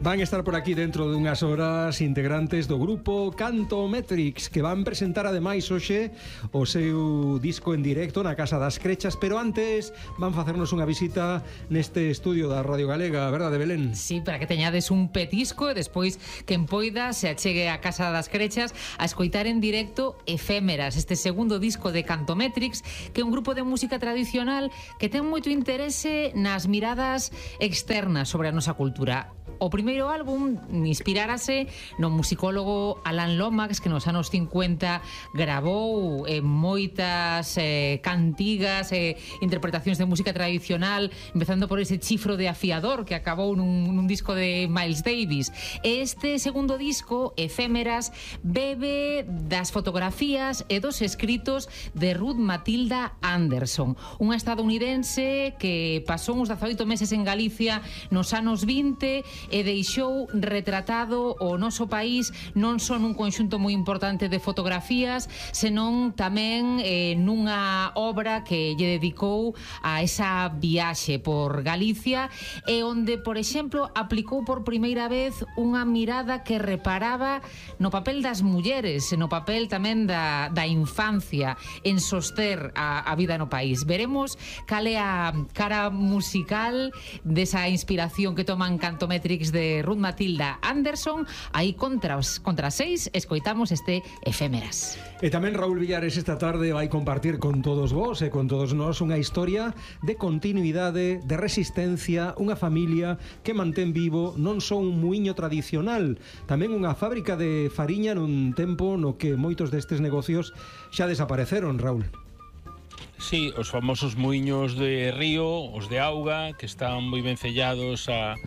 Van estar por aquí dentro de unhas horas integrantes do grupo Cantometrix, que van presentar ademais hoxe o seu disco en directo na Casa das Crechas, pero antes van facernos unha visita neste estudio da Radio Galega, verdade, Belén? Sí, para que teñades un petisco e despois quen poida se achegue a Casa das Crechas a escoitar en directo Efémeras, este segundo disco de Cantometrix, que é un grupo de música tradicional que ten moito interese nas miradas externas sobre a nosa cultura. O primeiro álbum inspirárase no musicólogo Alan Lomax, que nos anos 50 gravou moitas cantigas e interpretacións de música tradicional, empezando por ese chifro de afiador que acabou nun disco de Miles Davis. Este segundo disco, Efémeras, bebe das fotografías e dos escritos de Ruth Matilda Anderson, unha estadounidense que pasou uns 18 meses en Galicia nos anos 20 e deixou retratado o noso país non só nun conxunto moi importante de fotografías, senón tamén nunha obra que lle dedicou a esa viaxe por Galicia e onde, por exemplo, aplicou por primeira vez unha mirada que reparaba no papel das mulleres, no papel tamén da infancia en soster a vida no país. Veremos cal é a cara musical desa inspiración que toman Cantometrix de Ruth Matilda Anderson. Aí contra 6 escoitamos este Efémeras. E tamén Raúl Villares esta tarde vai compartir con todos vos e con todos nós unha historia de continuidade, de resistencia, unha familia que mantén vivo non só un muiño tradicional, tamén unha fábrica de fariña nun tempo no que moitos destes negocios xa desapareceron, Raúl. Sí, os famosos muiños de río, os de auga, que están moi ben sellados a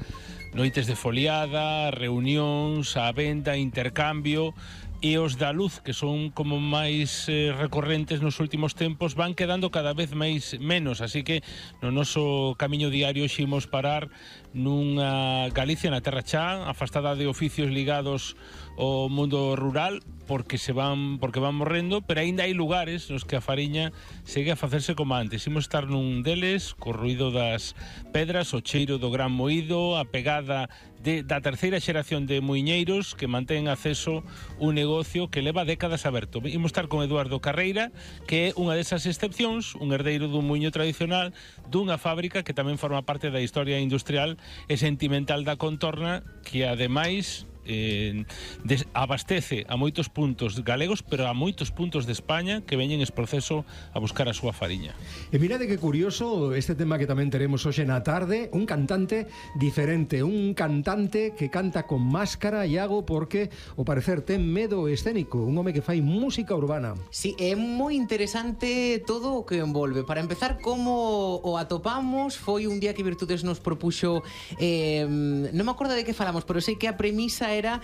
noites de foliada, reunións, a venda, intercambio, e os da luz, que son como máis recorrentes nos últimos tempos, van quedando cada vez menos, así que no noso camiño diario ximos parar nunha Galicia na terra xa, afastada de oficios ligados ao mundo rural, porque van morrendo, pero aínda hai lugares nos que a fariña segue a facerse como antes. Imos estar nun deles, co ruido das pedras, o cheiro do gran moído, a pegada da terceira xeración de muiñeiros que mantén acceso un negocio que leva décadas aberto. Imos estar con Eduardo Carreira, que é unha desas excepcións, un herdeiro dun muiño tradicional dunha fábrica que tamén forma parte da historia industrial e sentimental da contorna, que ademais abastece a moitos puntos galegos, pero a moitos puntos de España que veñen ese proceso a buscar a súa fariña. E mirade que curioso este tema que tamén teremos hoxe na tarde, un cantante diferente, un cantante que canta con máscara, Iago, porque ao parecer ten medo escénico, un home que fai música urbana. Sí, é moi interesante todo o que envolve. Para empezar, como o atopamos, foi un día que Virtudes nos propuxo, non me acordo de que falamos, pero sei que a premisa era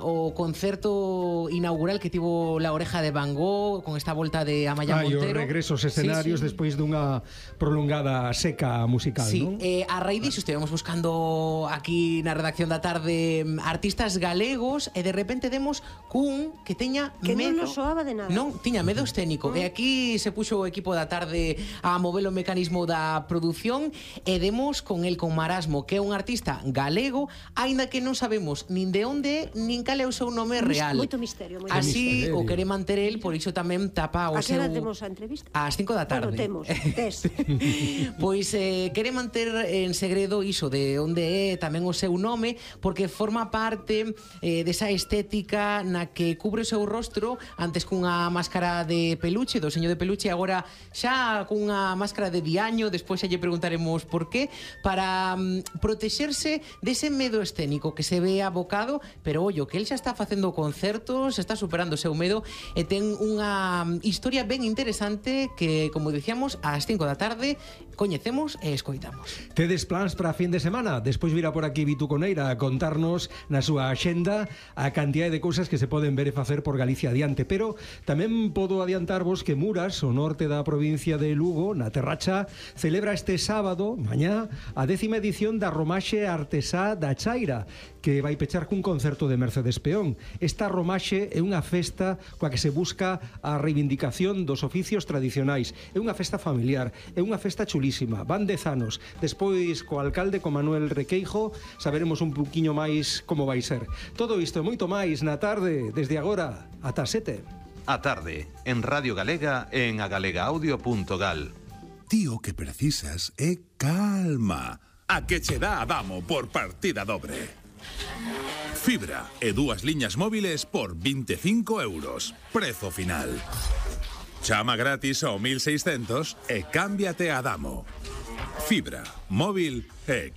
o concerto inaugural que tivo La Oreja de Van Gogh con esta volta de Amaya Montero. E os regresos escenarios, sí. Despois dunha prolongada seca musical, sí, non? A raíz disso estivemos buscando aquí na redacción da tarde artistas galegos e de repente demos cun que teña que medo. Non nos soaba de nada. Non, tiña medo escénico. E aquí se puxo o equipo da tarde a mover o mecanismo da produción e demos con el, con Marasmo, que é un artista galego, aínda que non sabemos nin de onde, nin cal é o seu nome real. Moito misterio. Así o quere manter el, por iso tamén tapa o seu... A que hora temos a entrevista? Ás 5 da tarde. Bueno, tes. Pois quere manter en segredo iso de onde é tamén o seu nome, porque forma parte desa estética na que cubre o seu rostro antes cunha máscara de peluche, do seño de peluche, agora xa cunha máscara de diaño, despois xa lle preguntaremos por qué, para protexerse dese medo escénico que se ve abocado, pero ollo, que el xa está facendo concertos, está superando o seu medo e ten unha historia ben interesante que, como dicíamos, ás 5 da tarde coñecemos e escoitamos. Tedes plans para a fin de semana? Despois virá por aquí Vitu Coneira a contarnos na súa axenda a cantidade de cousas que se poden ver e facer por Galicia adiante, pero tamén podo adiantarvos que Muras, o norte da provincia de Lugo, na Terracha, celebra este sábado, mañá, a 10ª edición da Romaxe Artesá da Chaira, que que vai pechar cun concerto de Mercedes Peón. Esta romaxe é unha festa coa que se busca a reivindicación dos oficios tradicionais. É unha festa familiar, é unha festa chulísima. Van 10 anos. Despois, co alcalde, co Manuel Requeijo, saberemos un poquinho máis como vai ser. Todo isto e moito máis na tarde, desde agora ata 7. A tarde, en Radio Galega e en agalegaudio.gal. Ti o que precisas é calma. A que che dá Adamo por partida dobre. Fibra e 2 liñas móviles por 25 euros. Prezo final. Chama gratis ao 1600 e cámbiate a Adamo. Fibra, móvil e